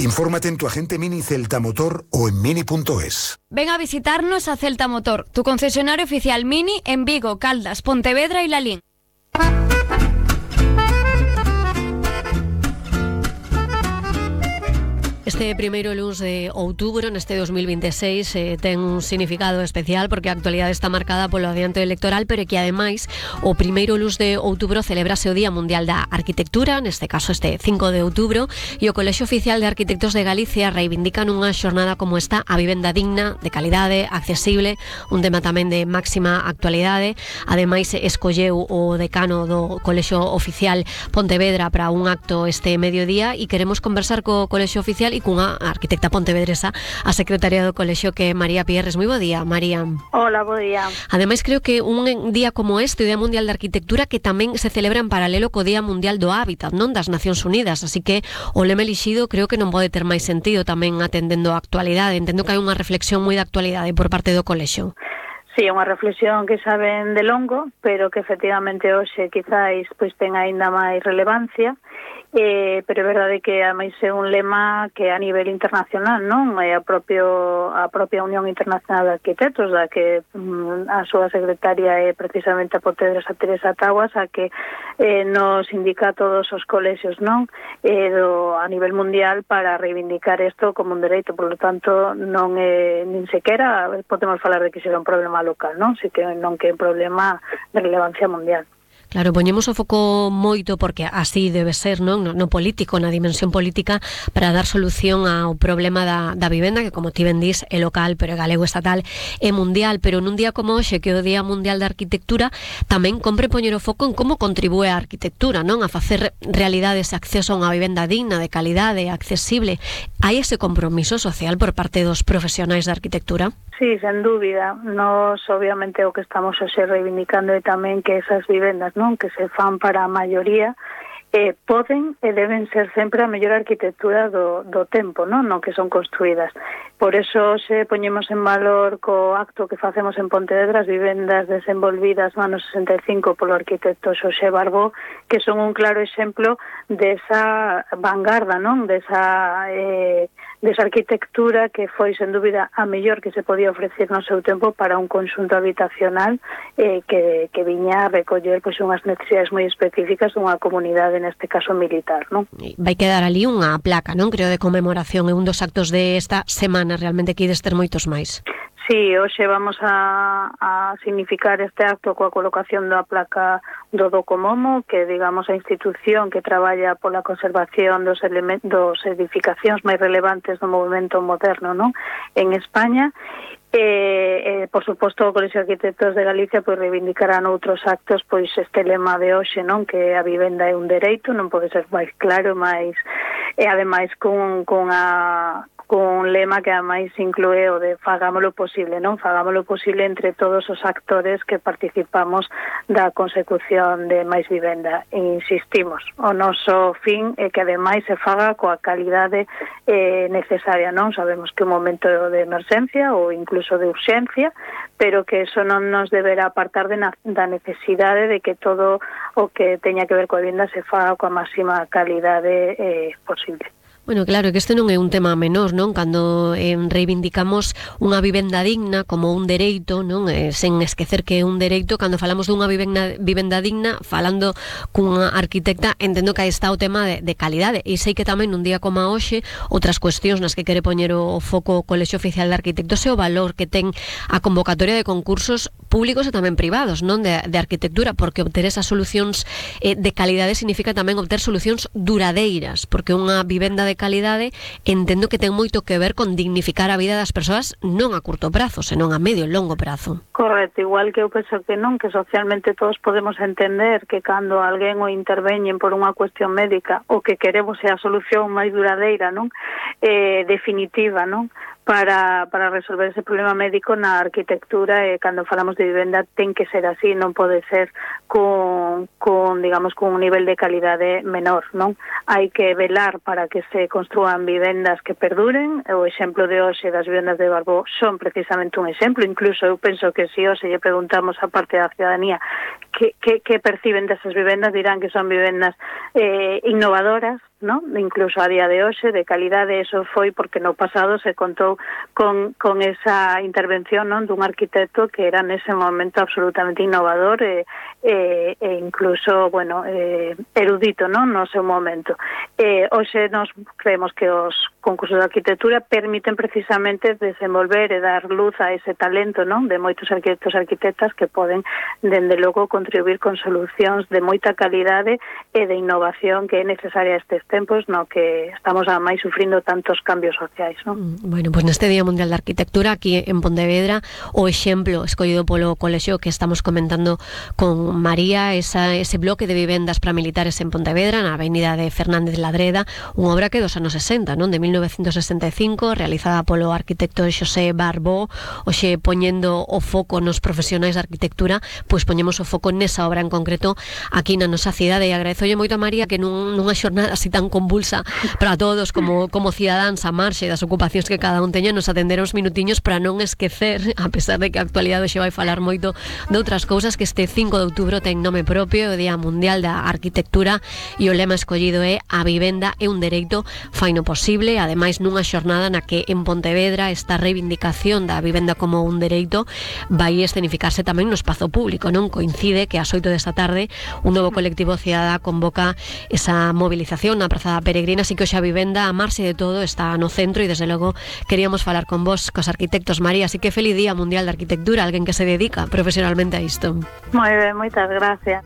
Infórmate en tu agente Mini Celta Motor o en mini.es. Ven a visitarnos a Celta Motor, tu concesionario oficial Mini en Vigo, Caldas, Pontevedra y Lalín. Este primeiro luns de outubro neste 2026 ten un significado especial porque a actualidade está marcada polo adianto electoral, pero que ademais o primeiro luns de outubro celebrase o Día Mundial da Arquitectura, neste caso este 5 de outubro, e o Colexio Oficial de Arquitectos de Galicia reivindican unha xornada como esta, a vivenda digna, de calidade, accesible, un tema tamén de máxima actualidade. Ademais escolleu o decano do Colexio Oficial Pontevedra para un acto este mediodía e queremos conversar co Colexio Oficial e cunha arquitecta pontevedresa, a secretaria do colexio, que é María Pierres. Moi bo día, María. Hola, bo día. Ademais, creo que un día como este, o Día Mundial de Arquitectura, que tamén se celebra en paralelo co Día Mundial do Hábitat, non, das Nacións Unidas, así que o lema elixido creo que non pode ter máis sentido tamén atendendo a actualidade. Entendo que hai unha reflexión moi de actualidade por parte do colexio. Sí, unha reflexión que saben de longo, pero que efectivamente hoxe quizáis pois ten aínda máis relevancia. Pero é verdade que ademais é un lema que a nivel internacional, non? É a propia Unión Internacional de Arquitectos, da que a súa secretaria é precisamente a pontevedresa Teresa Taguas, a que nos indica a todos os colexios, non? A nivel mundial para reivindicar isto como un dereito, por lo tanto non é nin sequera podemos falar de que será un problema local, non? Si que non que é un problema de relevancia mundial. Claro, poñemos o foco moito porque así debe ser, non? No político, na dimensión política, para dar solución ao problema da vivenda, que como ti ben dís, é local, pero é galego, estatal, é mundial. Pero nun día como hoxe, que é o Día Mundial da Arquitectura, tamén compre poñer o foco en como contribúe a arquitectura, non? A facer realidade ese acceso a unha vivenda digna, de calidade, accesible. Hai ese compromiso social por parte dos profesionais da arquitectura? Sí, sen dúbida. Nos, obviamente, o que estamos hoxe reivindicando é tamén que esas vivendas, non, que se fan para a maioría, poden e deben ser sempre a mellor arquitectura do tempo, non? No que son construídas. Por eso se poñemos en valor co acto que facemos en Pontevedra as vivendas desenvolvidas no ano 65 polo arquitecto Xosé Barbó, que son un claro exemplo desa vanguarda, non? Desa arquitectura que foi, sen dúbida, a mellor que se podía ofrecer no seu tempo para un conxunto habitacional que viña a recoller pois unhas necesidades moi específicas dunha comunidade, neste caso militar, non? Vai quedar ali unha placa, non? Creo, de conmemoración, é un dos actos de esta semana, realmente que ides ter moitos máis. Sí, hoxe vamos a significar este acto coa colocación da placa do Docomomo, que digamos a institución que traballa pola conservación dos edificacións máis relevantes do movimento moderno, non? En España. Por suposto, o Colexio de Arquitectos de Galicia pois reivindicarán outros actos pois este lema de hoxe, non? Que a vivenda é un dereito, non pode ser máis claro, máis e ademais cun lema que ademais inclúe o de fagámolo posible, non? Fagámolo posible entre todos os actores que participamos da consecución de máis vivenda. E insistimos, o noso fin é que ademais se faga coa calidade necesaria, non? Sabemos que é un momento de emerxencia ou incluso de urxencia, pero que eso non nos deberá apartar da necesidade de que todo o que teña que ver coa vivenda se faga coa máxima calidade posible. Bueno, claro, que este non é un tema menor, non? Cando reivindicamos unha vivenda digna como un dereito, non? Sen esquecer que é un dereito, cando falamos dunha vivenda digna, falando cunha arquitecta, entendo que aí está o tema de calidade. E sei que tamén un día como a hoxe, outras cuestións nas que quere poñer o foco o Colexio Oficial de Arquitectos é o valor que ten a convocatoria de concursos públicos e tamén privados, non? De arquitectura, porque obter esas solucións de calidade significa tamén obter solucións duradeiras, porque unha vivenda de calidade entendo que ten moito que ver con dignificar a vida das persoas non a curto prazo, senón a medio e longo prazo. Correcto, igual que eu penso que non, que socialmente todos podemos entender que cando alguén o interveñen por unha cuestión médica o que queremos é a solución máis duradeira, non? Definitiva, non? Para resolver ese problema médico na arquitectura, cando falamos de vivenda ten que ser así, non pode ser con un nivel de calidade menor, non? Hai que velar para que se construan vivendas que perduren. O exemplo de hoxe das vivendas de Barbó son precisamente un exemplo. Incluso eu penso que se hoxe lle preguntamos a parte da ciudadanía que perciben desas vivendas, dirán que son vivendas innovadoras, ¿no? Incluso a día de hoxe, de calidade. Eso foi porque no pasado se contou con esa intervención, non, dun arquitecto que era nese momento absolutamente innovador e incluso, bueno, erudito, non, no seu momento. Hoxe nos creemos que os concursos de arquitectura permiten precisamente desenvolver e dar luz a ese talento, non, de moitos arquitectos e arquitectas que poden, dende logo, contribuir con solucións de moita calidade e de innovación que é necesaria estes tempos, no que estamos a máis sufrindo tantos cambios sociais, non? Bueno, pois neste Día Mundial da Arquitectura aquí en Pontevedra, o exemplo escollido polo colexio que estamos comentando con María, ese bloque de vivendas para militares en Pontevedra, na avenida de Fernández Ladreda, unha obra que dos anos 60, non, de 1965, realizada polo arquitecto Xosé Barbó. Hoxe, poñendo o foco nos profesionais de arquitectura, pois poñemos o foco nesa obra en concreto aquí na nosa cidade, e agradezolle moito a María que nunha xornada así tan convulsa para todos como cidadáns a marxe das ocupacións que cada un teña, nos atender uns minutiños para non esquecer, a pesar de que a actualidade xe vai falar moito de outras cousas, que este 5 de outubro ten nome propio, o Día Mundial da Arquitectura, e o lema escollido é "A vivenda é un dereito, faino posible", ademais nunha xornada na que en Pontevedra esta reivindicación da vivenda como un dereito vai escenificarse tamén no espazo público, non? Coincide que ás 8 desta tarde un novo colectivo cidadá convoca esa movilización na Praza da Peregrina, así que hoxe a vivenda, a marxe de todo, está no centro, e desde logo queríamos falar con vos, cos arquitectos, María, así que feliz Día Mundial da Arquitectura, alguén que se dedica profesionalmente a isto. Moi ben, moitas gracias.